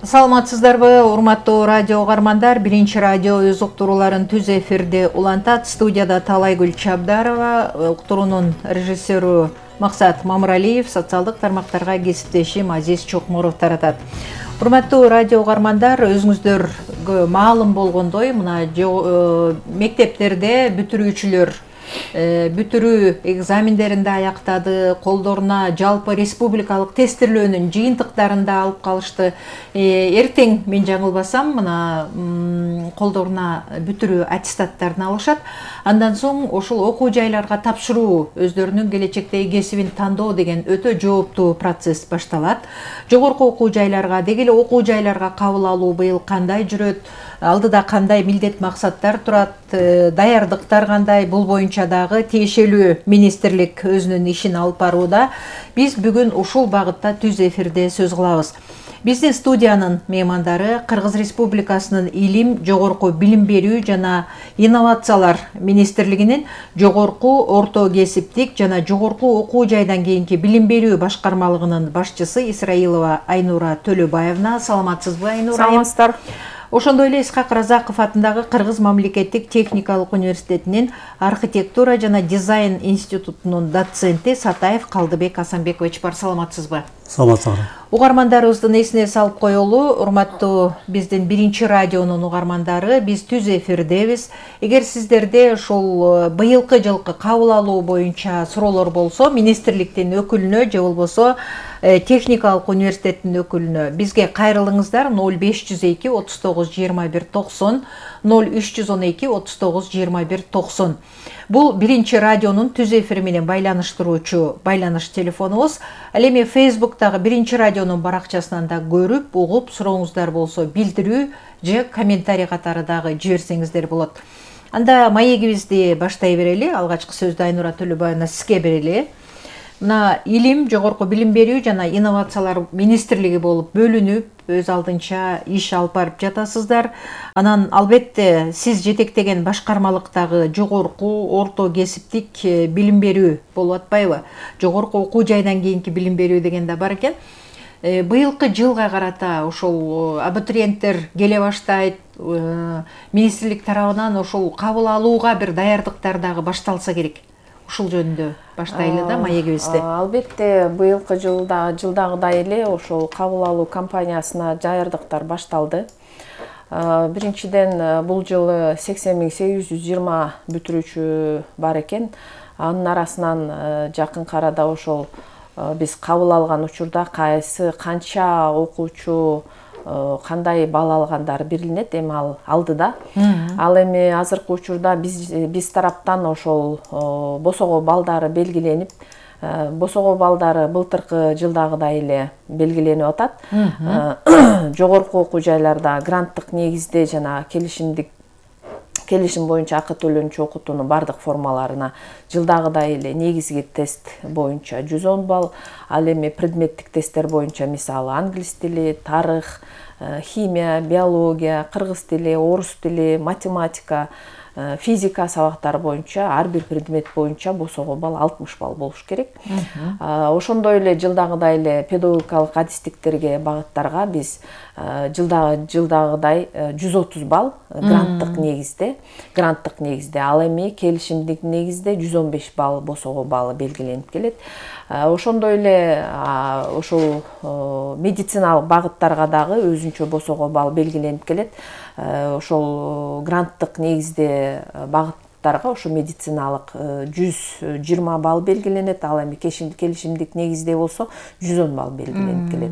Саламатсыздарбы, урматтуу радио угармандар. Биринчи радио өз уктурууларын түз эфирде улантат. Студияда Талайгүл Чабдарова, уктуруунун режиссеру Максат Мамыралиев, социалдык тармактарга кесиптешим Азиз Чокморов таратат. Урматтуу радио угармандар, өзүңүздөргө маалым болгондой, мына мектептерде бүтүрүүчүлөр бүтүрүү экзамендеринде аяктады, колдоруна жалпы республикалык тестирлөөнүн жыйынтыктарын да алып калышты. Эртең мен жаңылбасам, мына колдоруна бүтүрүү аттестаттарын алышат. Андан соң ошол окуу жайларга тапшыруу, өздөрүнүн келечектеги кесибин тандоо деген өтө жооптуу процесс башталат. Жогорку окуу жайларга, деги эле окуу жайларга кабыл алуу быйыл кандай жүрөт, алдыда кандай милдет максаттар турат, даярдыктар кандай, бул боюнча дагы тиешелүү министрлик өзүнүн ишин алып барууда. Биз бүгүн ушул багытта түз эфирде сөз кылабыз. Биздин студиянын меймандары Кыргыз Республикасынын Илим, жогорку билим берүү жана инновациялар министрлигинин жогорку, орто кесиптик жана жогорку окуу жайдан кийинки билим берүү башкармалыгынын башчысы Исраилова Айнура Төлөбаевна. Саламатсызбы, Айнура? Саламатсыздар. Ошондой эле Исхак Разаков атындагы Кыргыз мамлекеттик техникалык университетинин архитектура жана дизайн институтунун доценти Сатаев Калдыбек Асанбекович бар. Саламатсызбы? Саламатсыздар. Угармандарыбыздын эсине салып коелу, урматтуу биздин биринчи радионун угармандары, биз түз эфирдебиз. Эгер сиздерде ошол быйылкы жылкы кабыл алуу боюнча суроолор болсо, министрликтин өкүлүнө же болбосо техникалык университеттин өкүлүнө бизге кайрылыңыздар. 0502 39 21 90 0312 39 21 90. Бул биринчи радионун түз эфири менен байланыштыруучу байланыш телефонубуз. Ал эми Facebook'тагы биринчи радионун баракчасынан да көрүп, угуп, сурооңуздар болсо билдирүү же комментарий катары дагы жиберсеңиздер болот. Анда маегибизди баштай берели. Алгачкы сөздү Айнура Төлөбаевна сизге берели. Мына Илим, жогорку билим берүү жана инновациялар министрлиги болуп бөлүнүп, өз алдынча иш алып барып жатасыздар. Анан албетте сиз жетектеген башкармалыктагы жогорку, орто кесиптик билим берүү болуп атпайбы? Жогорку окуу жайдан кийинки билим берүү деген да бар экен. Быйылкы жылга карата ошол абитуриенттер келе баштайт. Министрлик тарабынан ошол кабыл алууга бир даярдыктар дагы башталса керек. Ушул жөнүндө баштайлы да маегибизди. Албетте быйылкы жылдагыдай эле ошол кабыл алуу кампаниясына даярдыктар башталды. Биринчиден бул жылы 80.820 бүтүрүүчү бар экен. Анын арасынан жакынкы арада ошол биз кабыл алган учурда канча окуучу кандай балл алгандар белгиленет, эми ал алдыда. Ал эми азыркы учурда биз тараптан ошол босого балдары белгиленип, босого балдары былтыркы жылдагыдай эле белгиленип атат. Жогорку окуу жайларда гранттык негизде жана келишим боюнча акы төлөнчү окутуунун бардык формаларына жылдагыдай эле негизги тест боюнча 110 балл, ал эми предметтик тесттер боюнча мисалы англис тили, тарых, химия, биология, кыргыз тили, орус тили, математика, физика сабактары боюнча ар бир предмет боюнча босого балл 60 балл болуш керек. Ошондой эле жылдагыдай эле педагогикалык адистиктерге багыттарга биз жылдагыдай 130 балл гранттык негизде, ал эми келишимдик негизде 115 балл босого баллы белгиленип келет. Ошондой эле ошол медициналык багыттарга дагы өзүнчө босого балл белгиленип келет. Ошол гранттык негизде багыттарга ошо медициналык 120 балл белгиленет, ал эми келишимдик негизде болсо 110 балл белгиленип келет.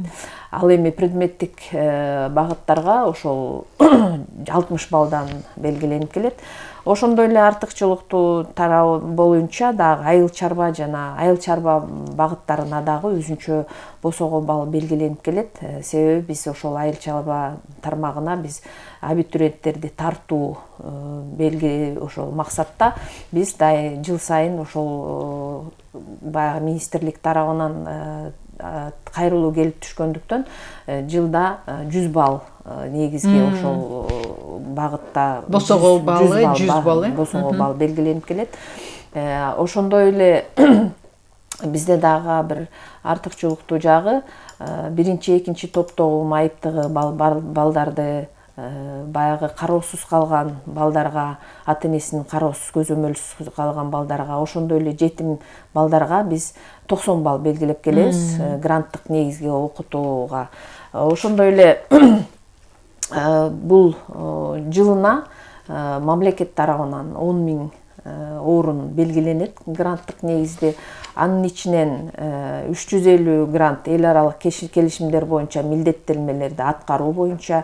Ал эми предметтик багыттарга ошол 60 баллдан белгиленип келет. Ошондой эле артыкчылыктуу тарабы боюнча дагы айыл чарба багыттарына дагы өзүнчө босого балл белгиленип келет. Себеби биз ошол айыл чарба тармагына биз абитуриенттерди тартуу ошол максатта биз жыл сайын ошол баягы министрлик тарабынан кайрылуу келип түшкөндүктөн жылда 100 балл негизги ошол багытта босого баллы 100 балл босого балл белгиленип келет. Ошондой эле бизде дагы бир артыкчылыктуу жагы биринчи экинчи топтогу майыптыгы балдарды баягы кароосуз калган балдарга, ата энесинин кароосуз көзөмөлсүз калган балдарга, ошондой эле жетим балдарга биз 90 балл белгилеп келебиз гранттык негизге окутууга. Ошондой эле бул жылына мамлекет тарабынан 10 000 орун белгиленет гранттык негизде. Анын ичинен 350 грант эл аралык келишимдер боюнча милдеттенмелерди аткаруу боюнча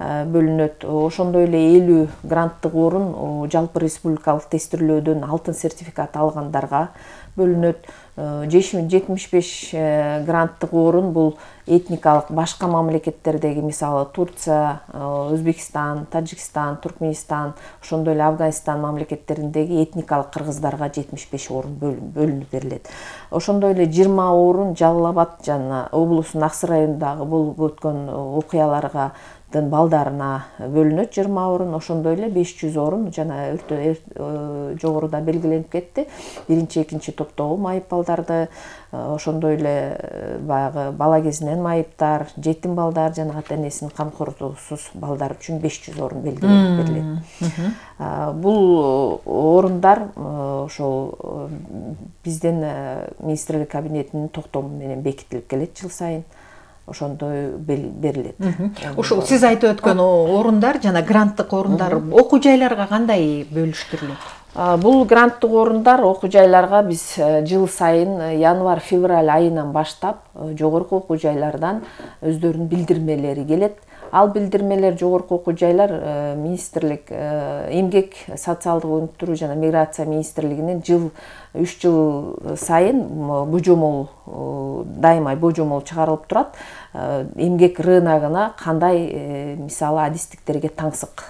бөлүнөт. Ошондой эле 50 гранттык орун жалпы республикалык тестирлөөдөн алтын сертификат алгандарга бөлүнөт. 75 гранттык орун бул этникалык башка мамлекеттердеги, мисалы Турция, Өзбекстан, Тажикстан, Туркменистан, ошондой эле Афганистан мамлекеттериндеги этникалык кыргыздарга 75 орун бөлүнүп берилет. Ошондой эле 20 орун Жалал Абад жана облустун Аксы районундагы болуп өткөн окуяларга балдарына бөлүнөт 20 орун. Ошондой эле 500 орун жана жогоруда белгиленип кетти. Биринчи экинчи топтогу майып балдарды, ошондой эле баягы бала кезинен майыптар, жетим балдар жана ата энесинин камкордугусуз балдар үчүн 500 орун белгиленип берилет. Бул орундар ошол биздин министрлик кабинетинин токтому менен бекитилип келет жыл сайын. Ошондой берилет. Ушул сиз айтып өткөн орундар жана гранттык орундар окуу жайларга кандай бөлүштүрүлөт? Бул гранттык орундар окуу жайларга биз жыл сайын январь-февраль айынан баштап жогорку окуу жайлардан өздөрүнүн билдирмелери келет. Ал билдирмелер жогорку окуу жайлар министрлик эмгек, социалдык өнүктүрүү жана миграция министрлигинин 3 жыл сайын божомол, дайыма божомол чыгарылып турат. Эмгек рыногуна кандай мисалы адистиктерге таңсык,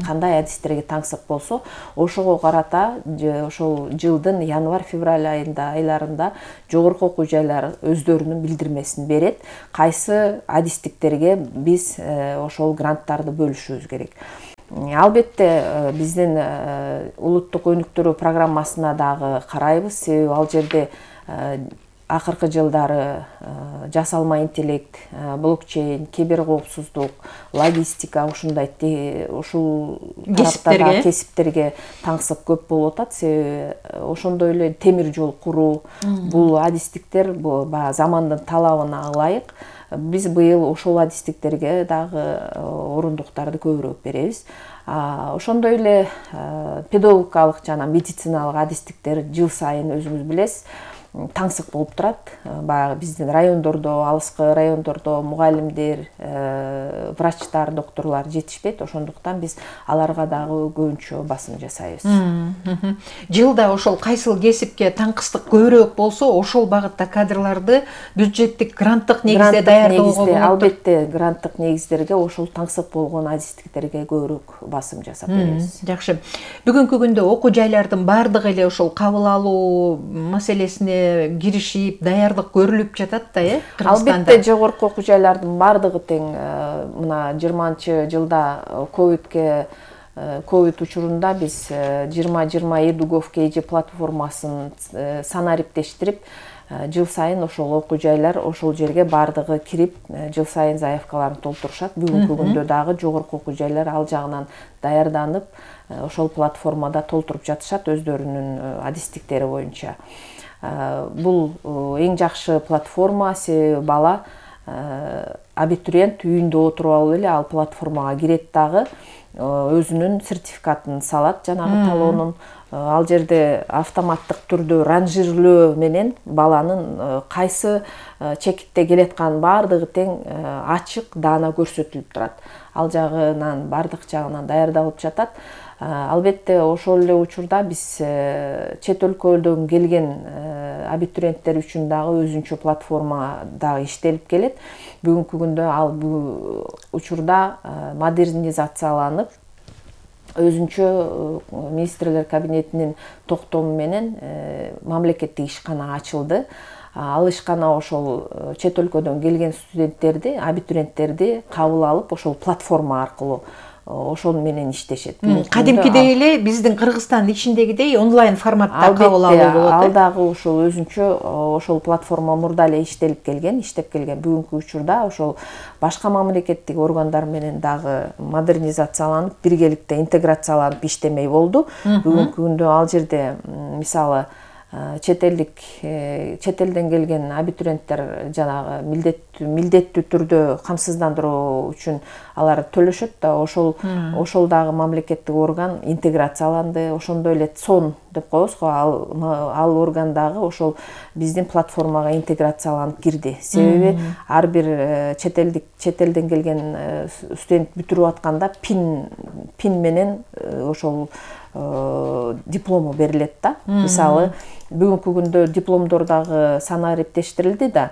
кандай адистерге таңсык болсо, ошого карата ошол жылдын январь-февраль айларында жогорку окуу жайлар өздөрүнүн билдирмесин берет. Кайсы адистиктерге биз ошол гранттарды бөлүшүбүз керек. Албетте биздин улуттук өнүктүрүү программасына дагы карайбыз, себеби ал жерде акыркы жылдары жасалма интеллект, блокчейн, киберкоопсуздук, логистика ушул тараптарда кесиптерге таңсык көп болуп атат. Себеби ошондой эле темир жол куруу, бул адистиктер баягы замандын талабына ылайык. Биз быйыл ошол адистиктерге дагы орундуктарды көбүрөөк беребиз. Ошондой эле педагогикалык жана медициналык адистиктер жыл сайын өзүңүз билесиз таңсык болуп турат. Баягы биздин райондордо, алыскы райондордо мугалимдер, врачтар, докторлор жетишпейт. Ошондуктан биз аларга дагы көбүнчө басым жасайбыз. Жылда ошол кайсыл кесипке таңкыстык көбүрөөк болсо, ошол багытта кадрларды бюджеттик гранттык негизде даярдоого болот. Албетте гранттык негиздерге ошол таңсык болгон адистиктерге көбүрөөк басым жасап беребиз. Жакшы. Бүгүнкү күндө окуу жайлардын баардыгы эле ошол кабыл алуу маселесине киришип, даярдык көрүлүп жатат да, Кыргызстанда. Албетте жогорку окуу жайлардын баардыгы тең мына 20-жылда ковид учурунда биз 2020 Эдугов KG платформасын санариптештирип, жыл сайын ошол окуу жайлар ошол жерге баардыгы кирип, жыл сайын заявкаларын толтурушат. Бүгүнкү күндө дагы жогорку окуу жайлар ал жагынан даярданып, ошол платформада толтуруп жатышат өздөрүнүн адистиктери боюнча. Бул эң жакшы платформа, себеби бала абитуриент үйүндө отуруп алып эле ал платформага кирет дагы өзүнүн сертификатын салат, жанагы талоонун. Ал жерде автоматтык түрдө ранжирлөө менен баланын кайсы чекитте келаткан баардыгы тең ачык даана көрсөтүлүп турат. Ал жагынан баардык жагынан даярдалып жатат. Албетте ошол эле учурда биз чет өлкөдөн келген абитуриенттер үчүн дагы өзүнчө платформа дагы иштелип келет. Бүгүнкү күндө ал учурда модернизацияланып, өзүнчө министрлер кабинетинин токтому менен мамлекеттик ишкана ачылды. Ал ишкана ошол чет өлкөдөн келген студенттерди, абитуриенттерди кабыл алып, ошол платформа аркылуу ошол менен иштешет. Кадимкидей эле биздин Кыргызстан ичиндегидей онлайн форматта кабыл алуу болот. Ал дагы ошол өзүнчө ошол платформа мурда эле иштеп келген. Бүгүнкү учурда ошол башка мамлекеттик органдар менен дагы модернизацияланып, биргеликте интеграцияланып иштемей болду. Бүгүнкү күндө ал жерде мисалы чет элден келген абитуриенттер жанагы милдеттүү түрдө камсыздандыруу үчүн алар төлөшөт да, ошол дагы мамлекеттик орган интеграцияланды. Ошондой эле ЦОН деп коебуз го, ал орган дагы ошол биздин платформага интеграцияланып кирди. Себеби ар бир чет элден келген студент бүтүрүп атканда пин менен ошол диплому берилет да. Мисалы, бүгүнкү күндө дипломдор дагы саны эптештирилди да.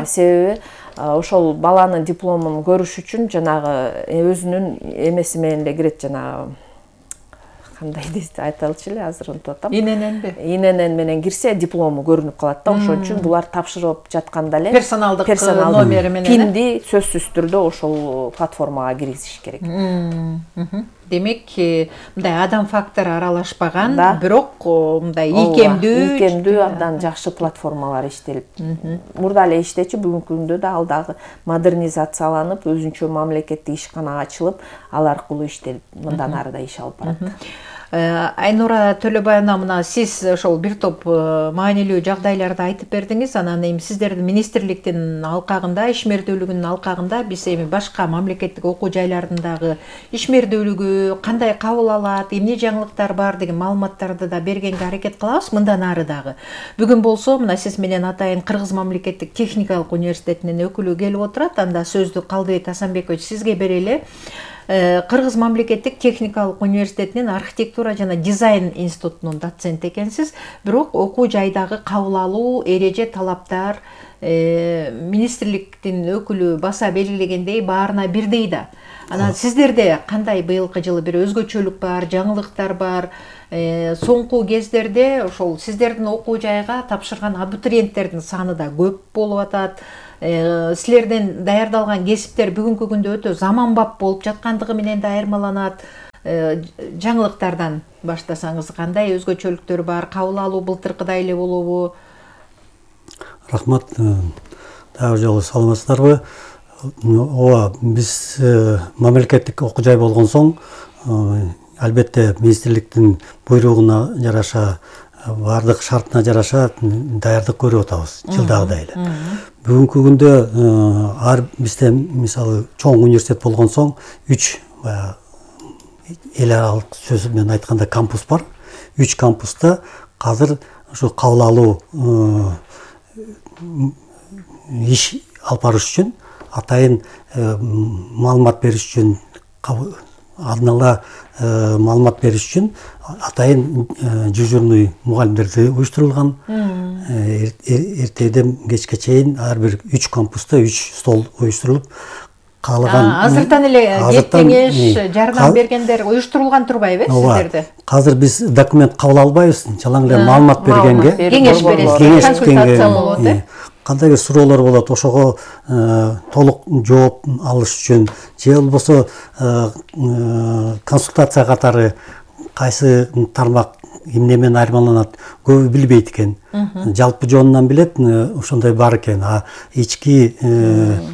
Себеби ошол баланын дипломун көрүш үчүн жанагы өзүнүн эмеси менен эле кирет, жанагы кандай дейт айта алчу эле, азыр унутуп атам. ИНН менен кирсе диплому көрүнүп калат да. Ошон үчүн булар тапшырып жатканда эле персоналдык номери менен пинди сөзсүз түрдө ошол платформага киргизиш керек. Демек, мындай адам фактору аралашпаган, бирок мындай ийкемдүү, абдан жакшы платформалар иштелип. Мурда эле иштечү, бүгүнкү күндө да ал дагы модернизацияланып, өзүнчө мамлекеттик ишкана ачылып, ал аркылуу иштелип, мындан ары да иш алып барат. Айнура Төлөбаевна, мына сиз ошол бир топ маанилүү жагдайларды айтып бердиңиз. Анан эми сиздердин министрликтин алкагында, ишмердүүлүгүнүн алкагында биз эми башка мамлекеттик окуу жайларындагы ишмердүүлүгү кандай кабыл алат, эмне жаңылыктар бар деген маалыматтарды да бергенге аракет кылабыз мындан ары дагы. Бүгүн болсо мына сиз менен атайын Кыргыз мамлекеттик техникалык университетинин өкүлү келип отурат. Анда сөздү Калдыбек Асанбекович сизге берели. Кыргыз мамлекеттик техникалык университетинин архитектура жана дизайн институтунун доценти экенсиз, бирок окуу жайдагы кабыл алуу, эреже, талаптар министрликтин өкүлү баса белгилегендей баарына бирдей да. Анан сиздерде кандай быйылкы жылы бир өзгөчөлүк бар, жаңылыктар бар? Соңку кездерде ошол сиздердин окуу жайга тапшырган абитуриенттердин саны да көп болуп атат. Силерден даярдалган кесиптер бүгүнкү күндө өтө заманбап болуп жаткандыгы менен да айырмаланат. Жаңылыктардан баштасаңыз, кандай өзгөчөлүктөр бар? Кабыл алуу былтыркыдай эле болобу? Рахмат. Дагы жолу саламатсыздарбы? Ооба, биз мамлекеттик окуу жай болгон соң, албетте министрликтин буйругуна жараша, бардык шартына жараша даярдык көрүп атабыз, жылдагыдай эле. Бүгүнкү күндө бизде мисалы чоң университет болгон соң 3 эл аралык сөз менен айтканда кампус бар. 3 кампуста азыр ушу кабыл алуу иш алып барыш үчүн, атайын маалымат бериш үчүн, алдын ала маалымат бериш үчүн атайын дежурный мугалимдерди уюштурулган. Эртеден кечке чейин ар бир 3 кампуста 3 стол уюштурулуп, каалаган азыртан эле кеңеш, жардам бергендер уюштурулган турбайбы сиздерде? Азыр биз документ кабыл албайбыз, жалаң эле маалымат бергенге, кеңеш бересиз, консультация болот. Кандай суроолор болот, ошого толук жооп алыш үчүн же болбосо консультация катары кайсы тармак эмне менен айырмаланат, көбү билбейт экен. Жалпы жонунан билет, ошондой бар экен. Ички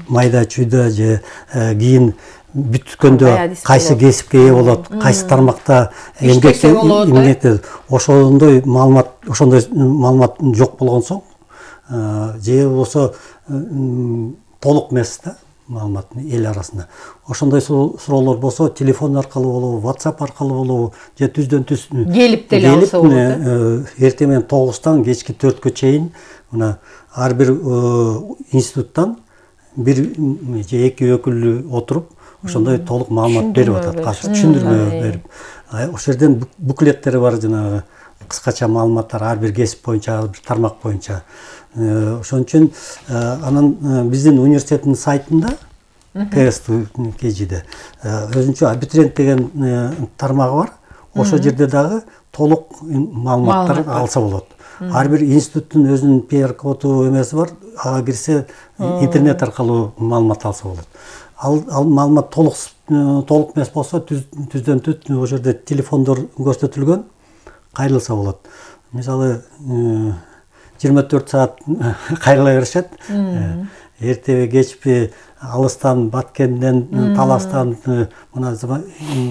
майда чүйдө же кийин бүткөндө кайсы кесипке ээ болот, кайсы тармакта эмгекте, ошондой маалымат жок болгон соң, же болбосо толук эмес да маалымат эл арасында. Ошондой суроолор болсо телефон аркылуу болобу, WhatsApp аркылуу болобу, же түздөн түз келип деле алса болот. Эртең менен 9-тан кечки 4-кө чейин мына ар бир институттан бир же 2 өкүлү отуруп, ошондой толук маалымат берип атат, түшүндүрмө берип. Ошол жерден буклеттери бар, жанагы кыскача маалыматтар ар бир кесип боюнча, ар бир тармак боюнча. Ошон үчүн анан биздин университеттин сайтында КСТ-де өзүнчө абитуриент деген тармагы бар. Ошол жерде дагы толук маалыматтар алса болот. Ар бир институттун өзүнүн PR коду эмеси бар. Ага кирсе интернет аркылуу маалымат алса болот. ал маалымат толук эмес болсо түздөн түз ошол жерде телефондор көрсөтүлгөн, кайрылса болот. Мисалы 24 саат кайрыла беришет. Эртеби кечпи алыстан, Баткенден, Таластан мына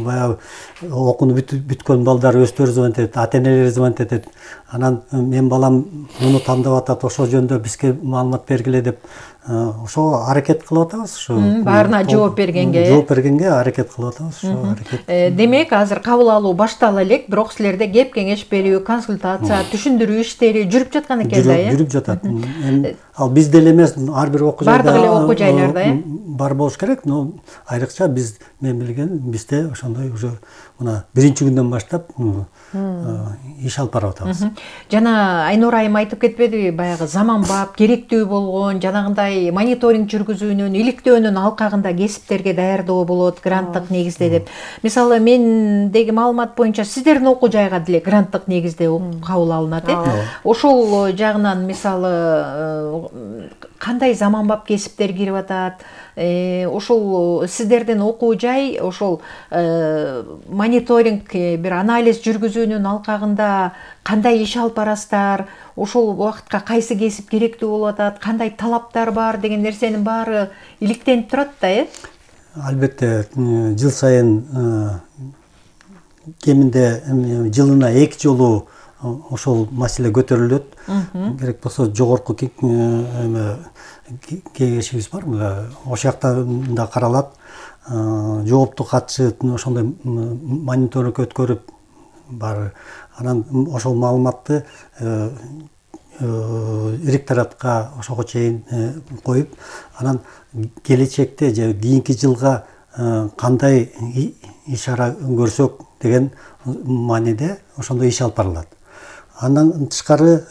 баягы окууну бүткөн балдар өздөрү звонить этет, ата-энелери звонить этет. Анан мен балам муну тандап атат, ошол жөнүндө бизге маалымат бергиле деп ошого аракет кылып атабыз. Ушу баарына жооп бергенге аракет кылып атабыз. Ошо аракет. Демек, азыр кабыл алуу баштала элек, бирок силерде кеп кеңеш берүү, консультация, түшүндүрүү иштери жүрүп жаткан экен да, жүрүп жатат. Ал биз деле эмес, ар бир окуу жайда бардык эле окуу жайларда бар болуш керек, но айрыкча мен билген бизде ошондой уже мына биринчи күндөн баштап иш алып барып атабыз. Жана Айнура айым айтып кетпедиби, баягы заманбап, керектүү болгон, жанагындай мониторинг жүргүзүүнүн, иликтөөнүн алкагында кесиптерге даярдоо болот, гранттык негизде деп. Мисалы, мендеги маалымат боюнча сиздердин окуу жайга деле гранттык негизде кабыл алынат, Ошол жагынан мисалы кандай заманбап кесиптер кирип атат? Ошол сиздердин окуу жай ошол мониторинг, бир анализ жүргүзүүнүн алкагында кандай иш алып барасыздар? Ошол убакытка кайсы кесип керектүү болуп атат? Кандай талаптар бар деген нерсенин баары иликтенип турат да, Албетте, жыл сайын кеминде жылына 2 жолу ошол маселе көтөрүлөт. Керек болсо жогорку кеңешибиз бар, ошол жакта да каралат. Жоопту катчы ошондой мониторинг өткөрүп бар. Анан ошол маалыматты ректоратка ошого чейин коюп, анан келечекте же кийинки жылга кандай иш-ара көрсөк деген мааниде ошондой иш алып барылат. Андан тышкары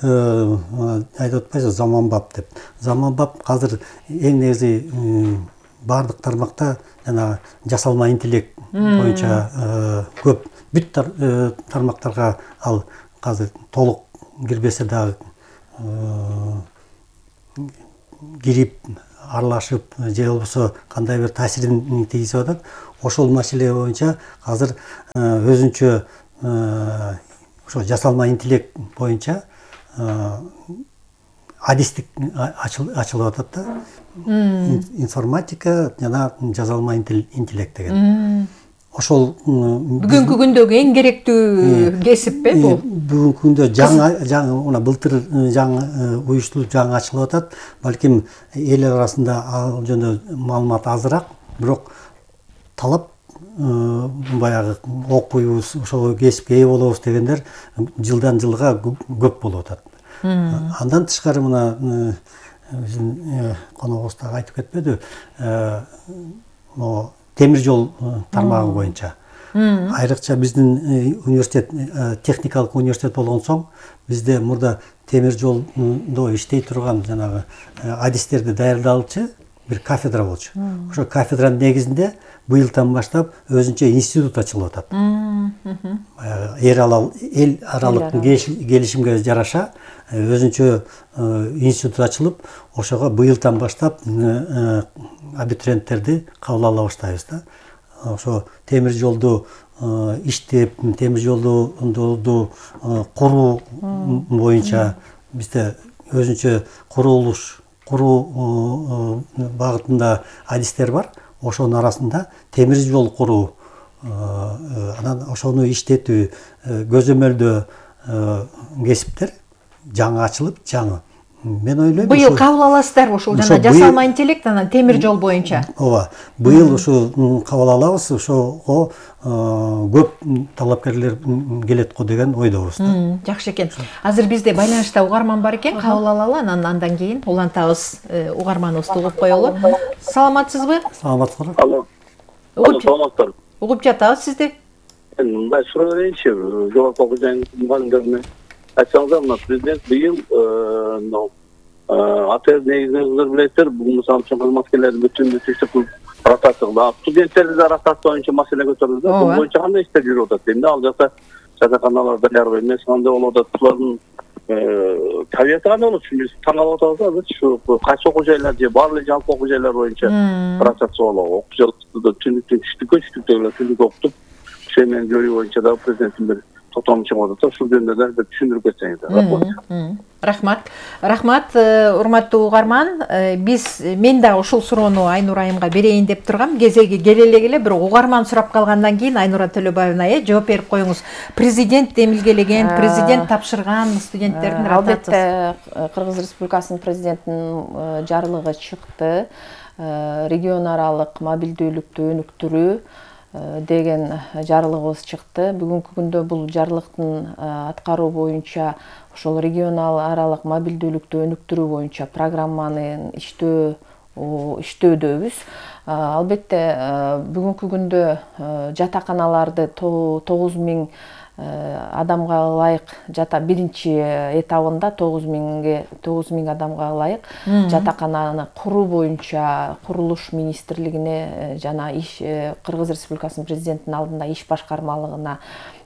айтып атпайсызбы, заманбап деп. Заманбап азыр эң негизи бардык тармакта жана жасалма интеллект боюнча көп бүт тармактарга ал азыр толук кирбесе дагы кирип аралашып же болбосо кандай бир таасирин тийгизип атат. Ошол маселе боюнча азыр өзүнчө ошо жасалма интеллект боюнча адистик ачылып атат да. Информатика жана жасалма интеллект деген. Ошол бүгүнкү күндөгү эң керектүү кесип бул? Бүгүнкү күндө жаңы мына былтыр жаңы уюштулуп жаңы ачылып атат. Балким эл арасында ал жөнүндө маалымат азыраак, бирок талап баягы окуйбуз, ошол кесипке ээ болобуз дегендер жылдан жылга көп болуп атат. Андан тышкары мына биздин коногубуз дагы айтып кетпедиби, темир жол тармагы боюнча. Айрыкча биздин университет техникалык университет болгон соң, бизде мурда темир жолдо иштей турган жанагы адистерди даярдалчу бир кафедра болчу. Ошо кафедранын негизинде быйылдан баштап өзүнчө институт ачылып атат. Эл аралык келишимге жараша өзүнчө институт ачылып, ошого быйылдан баштап абитуриенттерди кабыл ала баштайбыз да. Ошо темир жолду иштеп, темир жолду куруу боюнча бизде өзүнчө куруу багытында адистер бар. Ошонун арасында темир жол куруу, анан ошону иштетүү, көзөмөлдөө кесиптер жаңы ачылып, жаңы. Мен ойлойм, быйыл кабыл аласыздар ошол жана жасалма интеллект анан темир жол боюнча. Ооба, быйыл ушу кабыл алабыз, ошого көп талапкерлер келет го деген ойдобуз. Жакшы экен. Азыр бизде байланышта угарман бар экен, кабыл алалы, андан кийин улантабыз, угарманыбызды угуп коелу. Саламатсызбы? Саламатсызбы? Алло. Саламатсыздар. Угуп жатабыз сизди. Мындай суроо берейинчи, жогорку окуу жайынын мугалимдерине. Айтсаңыздар, мына президент быйыл АТР негизинен билесиздер, бул мисалы үчүн кызматкерлерди бүтүн түштүк ротация, студенттерди да ротация боюнча маселе көтөрүлдү. Бул боюнча кандай иштер жүрүп атат? Эми ал жакта жатаканалар даярбы эмес, кандай болуп атат? Булардын кабинети гана болот. Биз таң калып атабыз азыр ушу кайсы окуу жайлар же баары эле жалпы окуу жайлар боюнча процессуалдуу окуу жайларды түндүктөн түндүк окутуп, ошо менен жөнү боюнча да президенттин бир токтом чыгып атат. Ушул жөнүндө да бир түшүндүрүп кетсеңиз. Рахмат, урматтуу угарман. Мен да ушул суроону Айнура айымга берейин деп тургам. Кезеги келе эле, бирок угарман сурап калгандан кийин Айнура Төлөбаевна жооп берип коюңуз. Президент демилгелеген, президент тапшырган студенттердин ротациясы. Албетте, Кыргыз Республикасынын президентинин жарлыгы чыкты. Регион аралык мобилдүүлүктү өнүктүрүү деген жарлыгыбыз чыкты. Бүгүнкү күндө бул жарлыктын аткаруу боюнча ошол регионал аралык мобилдүүлүктү өнүктүрүү боюнча программаны иштөөдөбүз. Албетте, бүгүнкү күндө жатаканаларды 9000 адамга ылайык биринчи этабында 9000 адамга ылайык жатакананы куруу боюнча курулуш министрлигине жана Кыргыз Республикасынын президентинин алдында иш башкармалыгына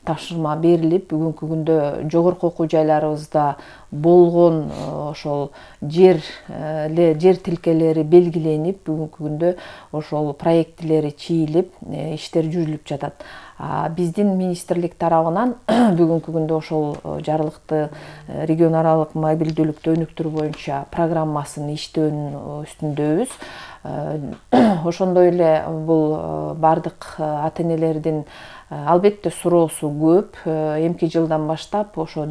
тапшырма берилип, бүгүнкү күндө жогорку окуу жайларыбызда болгон ошол жер тилкелери белгиленип, бүгүнкү күндө ошол проектилери чийилип, иштер жүрүлүп жатат. Биздин министрлик тарабынан бүгүнкү күндө ошол жарлыкты регион аралык мобилдүүлүктү өнүктүрүү боюнча программасын иштөөнүн үстүндөбүз. Ошондой эле бул бардык ата-энелердин албетте суроосу көп. Эмки жылдан баштап ошо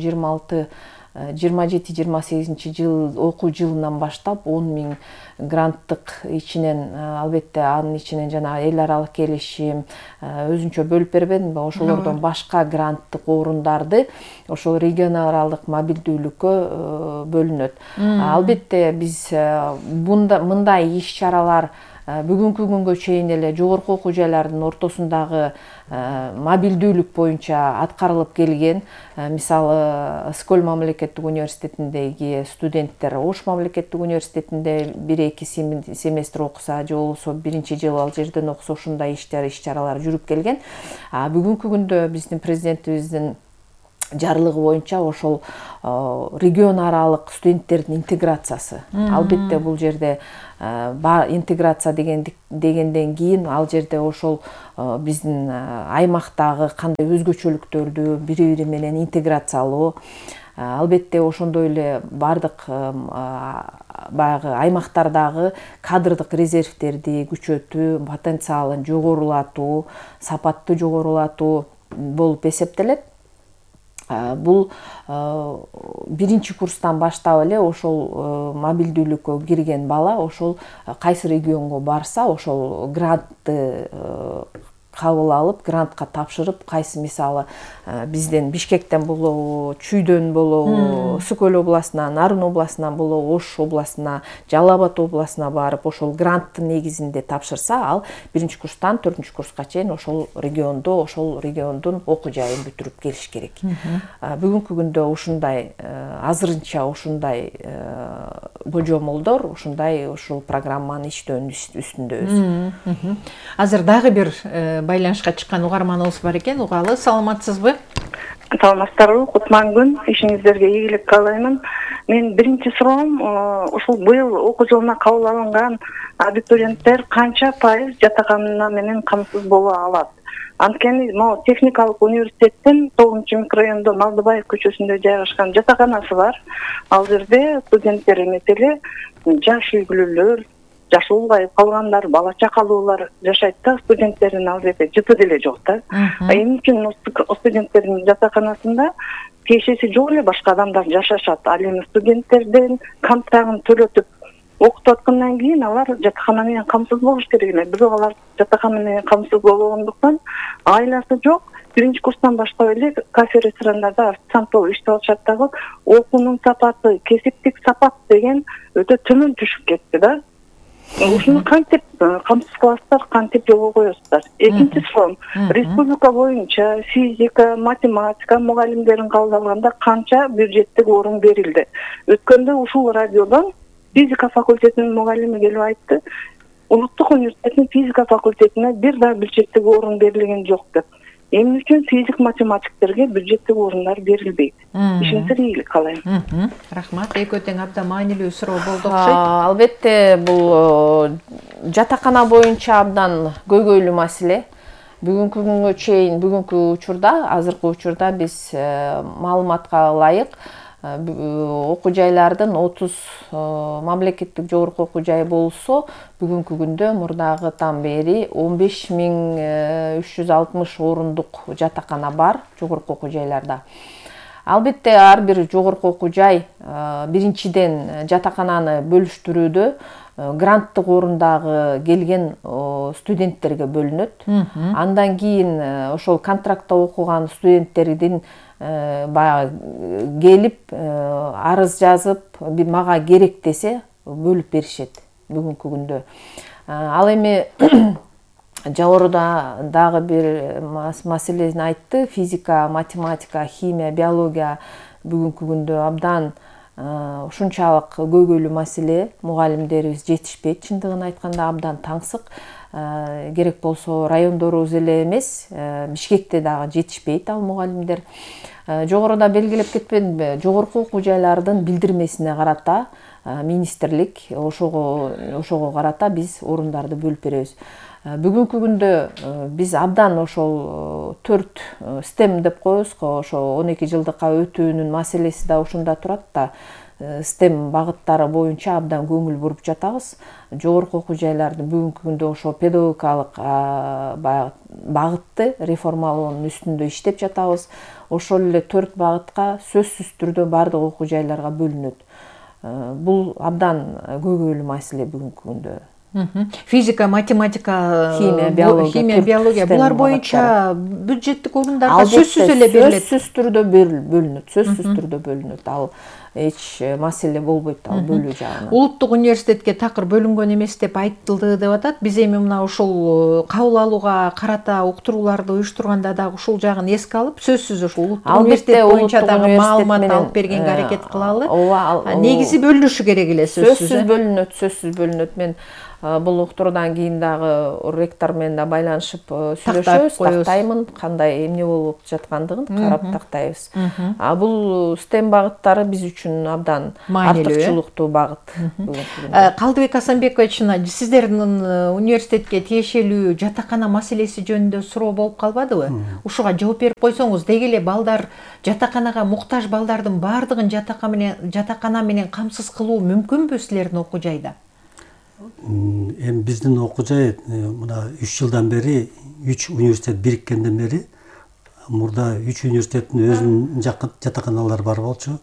27-28 жыл окуу жылынан баштап 10 000 гранттык ичинен, албетте анын ичинен жана эл аралык келишим өзүнчө бөлүп бербедимби, ошолордон башка гранттык орундарды ошол регион аралык мобилдүүлүккө бөлүнөт. Албетте биз мындай иш-чаралар бүгүнкү күнгө чейин эле жогорку окуу жайлардын ортосундагы мобилдүүлүк боюнча аткарылып келген. Мисалы, Скөл мамлекеттик университетиндеги студенттер Ош мамлекеттик университетинде 1-2 семестр окуса, же болбосо биринчи жыл ал жерден окуса, ушундай иш-чаралар жүрүп келген. Бүгүнкү күндө биздин президентибиздин жарлыгы боюнча ошол регион аралык студенттердин интеграциясы. Албетте бул жерде интеграция дегенден кийин ал жерде ошол биздин аймактагы кандай өзгөчөлүктөрдү бири-бири менен интеграциялоо, албетте ошондой эле бардык баягы аймактардагы кадрдык резервтерди күчөтүү, потенциалын жогорулатуу, сапатты жогорулатуу болуп эсептелет. Бул биринчи курстан баштап эле ошол мобилдүүлүккө кирген бала ошол кайсы регионго барса, ошол грантты кабыл алып, грантка тапшырып, кайсы мисалы бизден Бишкектен болобу, Чүйдөн болобу, Сүкөл областынан, Нарын областынан болобу, Ош областына, Жалал Абад областына барып, ошол гранттын негизинде тапшырса, ал биринчи курстан 4-курска чейин ошол региондун окуу жайын бүтүрүп келиш керек. Бүгүнкү күндө ушундай азырынча ушундай божомолдор, ушул программаны иштөөнүн үстүндөбүз. Азыр дагы бир байланышка чыккан угарманыбыз бар экен. Угалы, саламатсызбы? Саламатсыздарбы? Кутман күн. Ишиңиздерге ийгилик каалаймын. Мен биринчи суроом, ушул быйыл окуу жылына кабыл алынган абитуриенттер канча пайыз жатакана менен камсыз боло алат? Анткени могу техникалык университеттин 9-микрорайондо Малдыбаев көчөсүндө жайгашкан жатаканасы бар. Ал жерде студенттер эмес эле жаш үйлүүлөр, жашы улгайып калгандар, бала чакалуулар жашайт да, студенттердин ал жерде жыты деле жок да. Эмне үчүн студенттердин жатаканасында тиешеси жок эле башка адамдар жашашат. Ал эми студенттердин контрагын төлөтүп окутуп аткандан кийин алар жатакана менен камсыз болуш керек эле. Бирок алар жатакана менен камсыз болбогондуктан айласы жок. Биринчи курстан баштап эле кафе, ресторандарда официант болуп иштеп атышат дагы. Окуунун сапаты, кесиптик сапат деген өтө төмөн түшүп кетти да. Ушуну кантип камсыз кыласыздар, кантип жолго коесуздар? Экинчи суроом, республика боюнча физика, математика мугалимдерин кабыл алганда канча бюджеттик орун берилди? Өткөндө ушул радиодон физика факультетинин мугалими келип айтты, Улуттук университеттин физика факультетине бир да бюджеттик орун берилген жок деп. эмне үчүн физик математиктерге бюджеттик орундар берилбейт? Ишенимдерге ийгилик каалайм. Рахмат. Экөө тең абдан маанилүү суроо болду окшойт. Албетте бул жатакана боюнча абдан көйгөйлүү маселе. Бүгүнкү күнгө чейин, бүгүнкү учурда, азыркы учурда биз маалыматка ылайык окуу жайлардын 30 мамлекеттик жогорку окуу жайы болсо, бүгүнкү күндө мурдагыдан бери 15.360 орундук жатакана бар жогорку окуу жайларда. Албетте ар бир жогорку окуу жай биринчиден жатакананы бөлүштүрүүдө гранттык орундагы келген студенттерге бөлүнөт. Андан кийин ошол контрактта окуган студенттердин баягы келип арыз жазып, мага керек десе бөлүп беришет бүгүнкү күндө. Ал эми жогоруда дагы бир маселени айтты. Физика, математика, химия, биология бүгүнкү күндө абдан ушунчалык көйгөйлүү маселе. Мугалимдерибиз жетишпейт, чындыгын айтканда абдан таңсык. Керек болсо райондорубуз эле эмес, Бишкекте дагы жетишпейт ал мугалимдер. Жогоруда белгилеп кетпедимби, жогорку окуу жайлардын билдирмесине карата министрлик ошого карата биз орундарды бөлүп беребиз. Бүгүнкү күндө биз абдан ошол 4 STEM деп коебуз го, ошо 12 жылдыкка өтүүнүн маселеси да ушунда турат да. STEM багыттары боюнча абдан көңүл буруп жатабыз. Жогорку окуу жайлардын бүгүнкү күндө ошо педагогикалык багытты реформалоонун үстүндө иштеп жатабыз. Ошол эле 4 багытка сөзсүз түрдө бардык окуу жайларга бөлүнөт. Бул абдан көйгөйлүү маселе бүгүнкү күндө. Физика, математика, химия, биология булар боюнча бюджеттик орундарга сөзсүз эле берилет. Сөзсүз түрдө бөлүнөт. Сөзсүз түрдө бөлүнөт. Ал эч маселе болбойт ал бөлүү жагынан. Улуттук университетке такыр бөлүнгөн эмес деп айтылды деп атат. Биз эми мына ушул кабыл алууга карата уктурууларды уюштурганда дагы ушул жагын эске алып, сөзсүз ушул улуттук университет боюнча дагы маалымат алып бергенге аракет кылалы. Негизи бөлүнүшү керек эле сөзсүз бөлүнөт. Мен бул уктуруудан кийин дагы ректор менен да байланышып сүйлөшөбүз, тактаймын, кандай эмне болуп жаткандыгын карап тактайбыз. Бул STEM багыттары биз үчүн абдан артыкчылыктуу багыт. Калдыбек Асанбекович, сиздердин университетке тиешелүү жатакана маселеси жөнүндө суроо болуп калбадыбы? Ушуга жооп берип койсоңуз, деги эле балдар, жатаканага муктаж балдардын баардыгын жатакана менен камсыз кылуу мүмкүнбү силердин окуу жайда? Эми биздин окуу жай мына 3 жылдан бери 3 университет бириккенден бери мурда 3 университеттин өзүнүн жатаканалары бар болчу.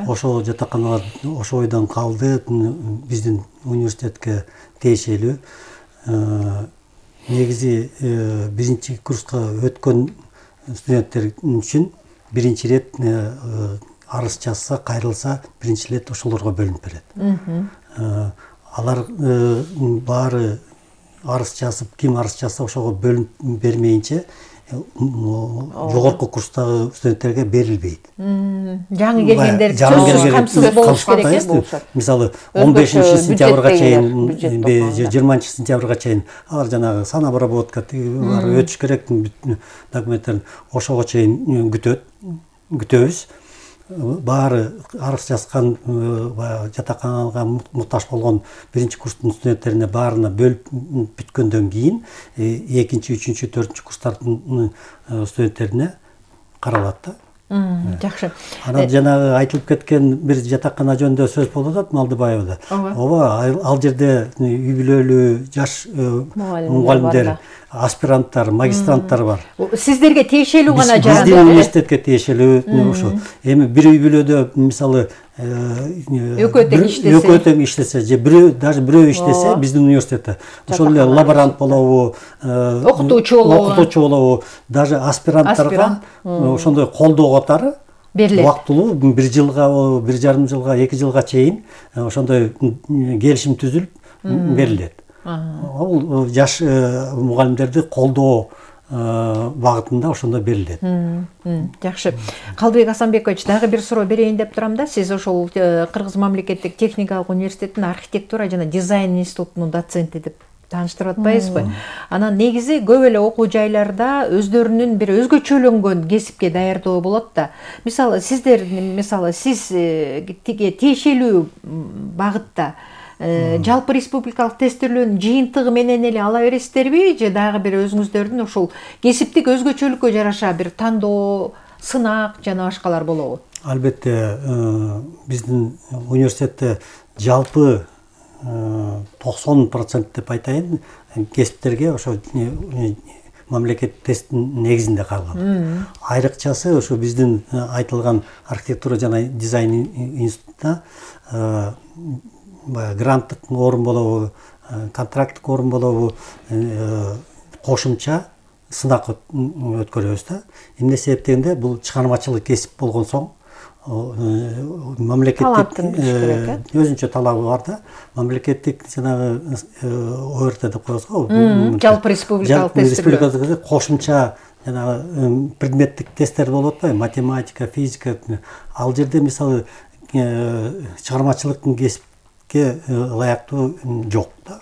Ошол жатаканалар ошо ойдон калды, биздин университетке тиешелүү. Негизи биринчи курска өткөн студенттер үчүн биринчи ирет арыз жазса, кайрылса, биринчи ирет ошолорго бөлүнүп берет. Алар баары арыз жазып, ким арыз жазса ошого бөлүнүп бермейинче жогорку курстагы студенттерге берилбейт. Жаңы келгендер сөзсүз камсыз болуш керек болушат. Мисалы 15-сентябрга чейин, 20-сентябрга чейин алар жанагы санобработка өтүш керек документтерин ошого чейин күтөбүз. Баары арыз жазган жатаканага муктаж болгон биринчи курстун студенттерине баарына бөлүп бүткөндөн кийин экинчи, үчүнчү, төртүнчү курстардын студенттерине каралат да. Жакшы. Анан жанагы айтылып кеткен бир жатакана жөнүндө сөз болуп атат Малдыбаевда. Ал жерде үй бүлөлүү жаш мугалимдер, аспиранттар, магистранттар бар. Сиздерге тиешелүү гана жаранат. Биздин университетке тиешелүү ошо. Эми бир үй бүлөдө мисалы экөө тең иштесе, же бирөө иштесе биздин университетте ошол эле лаборант болобу, окутуучу болобу, даже аспиранттарга ошондой колдоо катары берилет. Убактылуу 1 жылга, 1,5 жылга, 2 жылга чейин ошондой келишим түзүлүп берилет. Ал жаш мугалимдерди колдоо багытында ошондой берилет. Жакшы. Калдыбек Асанбекович, дагы бир суроо берейин деп турам да. Сиз ошол Кыргыз мамлекеттик техникалык университетинин архитектура жана дизайн институтунун доценти деп тааныштырып атпайбызбы? Анан негизи көп эле окуу жайларда өздөрүнүн бир өзгөчөлөнгөн кесипке даярдоо болот да. Мисалы сиз тиги тиешелүү багытта жалпы республикалык тестирлөөнүн жыйынтыгы менен эле ала бересиздерби, же дагы бир өзүңүздөрдүн ушул кесиптик өзгөчөлүккө жараша бир тандоо, сынак жана башкалар болобу? Албетте, биздин университетте жалпы 90% деп айтайын, кесиптерге ошо мамлекеттик тесттин негизинде кабылган. Айрыкчасы ошо биздин айтылган архитектура жана дизайн институтта гранттык орун болобу, контракттык орун болобу, кошумча сынак өткөрөбүз да. Эмне себептен бул чыгармачылык кесип болгон соң мамлекеттик өзүнчө талабы бар да. Мамлекеттик жанагы ОРТ деп коебуз го. Жалпы республикалык тестирлөө. Кошумча жанагы предметтик тесттер болуп атпайбы? Математика, физика. Ал жерде мисалы чыгармачылыктын кесипке ылайыктуу жок да.